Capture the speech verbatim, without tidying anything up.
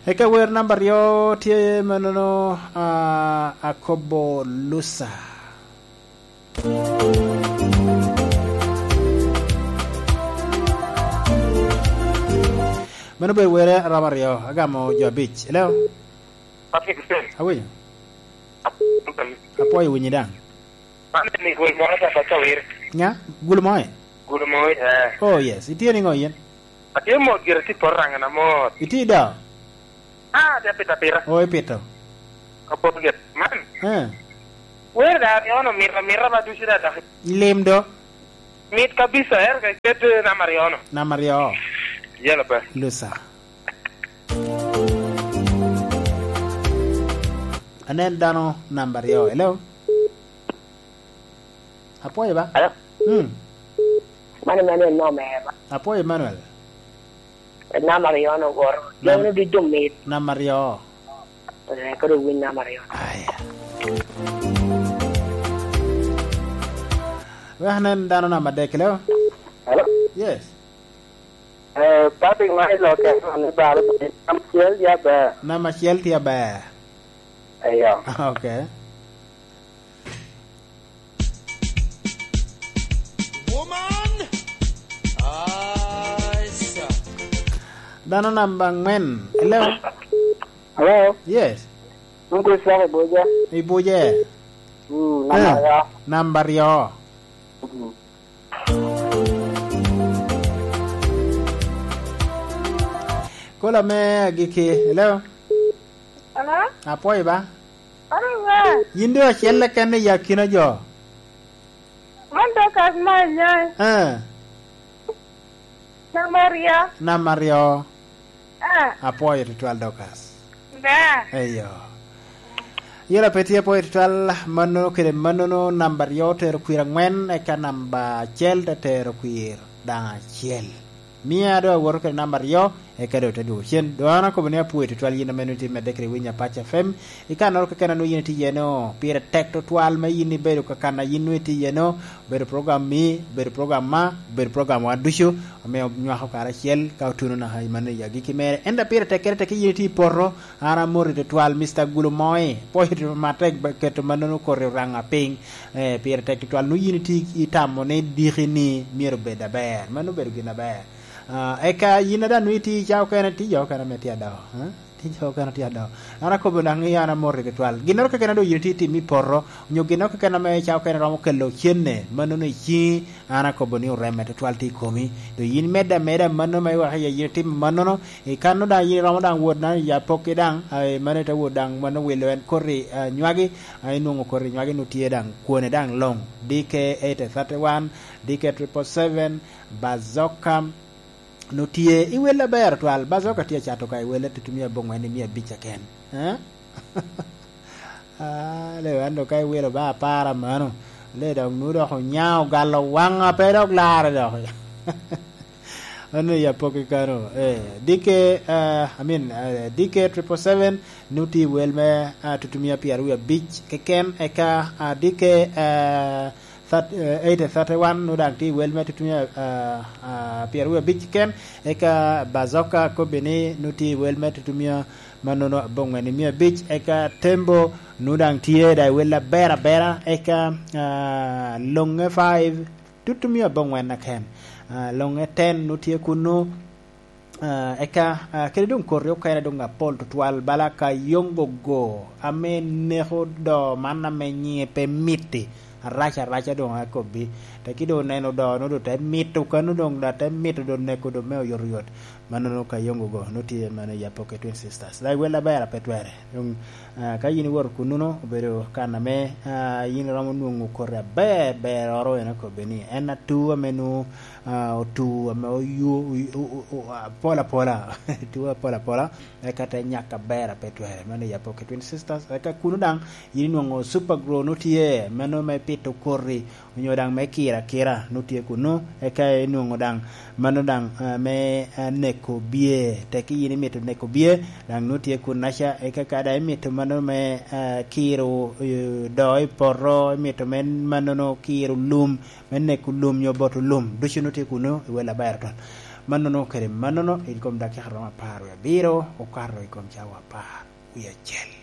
Eka wer namba aryo tye manono, ah, akobo Lusa. Mano obedo wer a romo aryo, agamo jo abic. Hello? Patrick Hussein. Awinyo. Apwoyo winyi daŋ. Man ni gul mo ta pa cawir. Ŋa? Gul mo e? Gul mo, eh. Oh, yes. Itye niŋo yin? Atye mot gire, tye poto raŋa na mot. Itye i doo? Ah, atye apito apita. Oh, ipito. Ka poto gire. Man. Eh. Wer da aryo-nu mito, mito ba ducu da dok. Lim do. Mit kabisa, ero ka ket, eh, namba aryo-nu. Namba aryo. Yelo pe. Lusa. Anen dano namba aryo. Hello? Apwoyo ba? Hello? Hmm. Mano, mano en nome ba? Apwoyo Emmanuel. En namba aryo-nu woro. Nam- Jami ducu mit. Namba aryo. Eh, kadi owiny namba aryo. Aya. Wek anen dano namba adek, hello? Hello? Yes. Eh, Patrick, ma i lokke, ni balo, namba acel tye aber. Namba acel tye aber. Eyo. Ok. Woman! Ay, sa. Dano namba angwen. Hello? Hello? Yes. Uncle Frank Ibuja. Ibuja. Mm, namba Eh, aryo. Namba aryo. Mm. Kola me agikki. Hello? Hello? Apwoyo ba? Apwoyo ba? Yin doŋ acel keken i akina jo. Man Dorcas Manya. Eh. Namba aryo. Namba aryo. Eh. Apwoyo tutwal, Dorcas. Ba. Eyo. Yela pe tye apwoyo tutwal, mannono kede mannono, namba aryo otero kwir angwen, eka namba acel te tero kwir daŋ acel. Mia doŋ awoto kede namba aryo, eka doŋ te dwogo cen. Doŋ an akobo ni apwoyo tutwal yin ame nwoŋo itye medde kede winyo Apac F M. I kannoro keken a nwoŋo yin itye iye-no, pire tek tutwal me yin ibedo ka kan a yin nwoŋo itye iye-no, obedo program mi, obedo program ma, obedo program wa ducu, ame onywako karacel ka otuno naka i mano i agikki mere. Ento pire tekkere tek yin itye i poto, an amoti tutwal, Mister Gulumoi, pwoyo tutwal matek ba keto mannono koti oraŋa piny. Eh, pire tek tutwal, nwoŋo yin itye itamo ni diki-ni myero obed aber. Mano obedo gin aber. Ah, eka yin a daŋ nwoŋo itye i cawa okene, tye jo okene ame tye adao, eh? Tye jo okene tye adao. An akobo daŋ ni an amoti tutwal. Ginnoro keken a doŋ yin itye itimo i poto, onyo ginnoro keken ame cawa okene romo kelo cenne, mannono i ciŋi, an akobo ni oremme tutwal tye i komi. Doŋ yin imedde ameda mannono ma iweko iye yin itimo mannono, i kanno daŋ yin iromo daŋ wot daŋ i apokki daŋ, ah, i mano ite wot daŋ mano wilo en koti, ah, nywagi, ah, inwoŋo koti nywagi nwoŋo tye daŋ kwone daŋ luŋ. D K eight thirty-one, D K triple seven, Bazooka, nwoŋo tye i wel aber twal. Bazooka tye acato ka i wel atutumia abongwen i mia abic keken. Eh? Ah, lewa an dok ka iwilo ba apar a mano. Le dok nwoŋo dok onyaŋo ogalo waŋa pe dok larre dok. Ano ya pok i kano. Eh, D K, eh, I mean, eh, D K triple seven, nwoŋo tye i wel me, ah, tutumia pyeraryo abic keken, eka, ah, D K, eh, thirty, eh, eight thirty-one, nwoŋo daŋ tye i wel me tutumia, ah, ah, pyeraryo abic keken, eka Bazooka kobbe ni nwoŋo tye i wel me tutumia mannono abongwen i mia abic, eka Tembo nwoŋo daŋ tye daŋ i wel aber abera, eka, ah, Loŋe five, tutumia abongwen aken. Ah, Loŋe ten nwoŋo tye kunnu, ah, eka, ah, kede doŋ koti okene doŋ apol tutwal, bala Kayongogo, ame neko do man ame nyiŋe pe miti, arac araca doŋ akobbi. Teki doŋ oneno do, nwoŋo doŋ te mito kano doŋ, da te mito doŋ neko doŋ me oyotoyot. Mannono Kayongogo, nwoŋo tye mano i Apoke Twin Sisters. Daŋ i wel aber a pe twere. Doŋ, ah, ka yin iwoto kunnuno, obedo kan ame, ah, yin iromo nwoŋo koti aber beroro, en akobbe ni en atu ame nwoŋo, ah, otu ame oyu-, o-, o-, o-, apol apola. Tu apol apola, eka te nyak aber a pe twere. Mano i Apoke Twin Sisters. Eka kuno daŋ, yin inwoŋo Super Grow nwoŋo tye, mano me pito koti, onyo daŋ me kiro akira, nwoŋo tye kunnu, eka inwoŋo daŋ, mano daŋ, ah, me, ah, neko bye. Teki yin imito neko bye, daŋ nwoŋo tye kunnaca, eka ka daŋ imito mano me, ah, kiro, eh, do i poto, imito me mannono kiro lum, me neko lum nyo boto lum, ducu nwoŋo tye kunnu i wel aber twal. Mannono kede mannono, i kom dakika romo apar wie abiro okato i kom cawa apar wie acel.